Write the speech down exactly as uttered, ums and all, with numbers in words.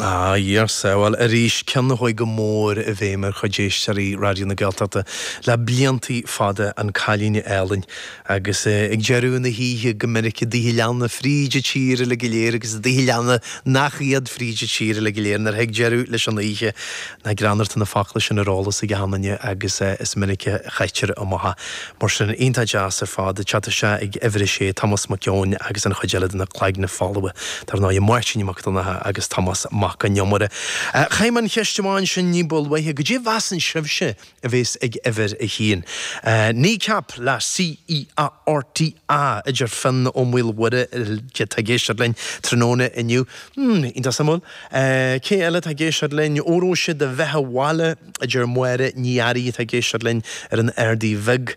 Ah, yes, bhuel arís ceann a chuaigh go mór i bhfeidhm ar chuid éisteoirí Raidió na Gaeltachta le bliantaí fada an cailín álainn agus eh, ag deireadh na hoíche go minic i dtithe leanna fríd an tír uile go léir agus i dtithe leanna nach iad fríd an tír uile go léir nuair a thig deireadh leis an oíche na greannarta na focla sin ar eolas ag achan duine agus eh, is minic a chaitear amach mar sin iontach deas ar fad teacht isteach ag uimhir a sé Thomas Mac Eoin agus an chuid eile de na Cloigne Folmha Tar ná Máirtín Mac Donncha agus Thomas Mac an Iomaire. Chaith an cheist amháin sin ní ba luaithe goidé mheasann sibhse a bheas ag uimhir a haon. Kneecap le CEARTA idir Finn Ó Maolmhuire atá ag éisteacht linn tráthnóna inniu. Hmm, iontach suimiúil. Cé eile tá ag éisteacht linn óró sé do bheatha abhaile idir Máire Ní Fhearraigh atá ag éisteacht linn ar an Ardaí Bhig.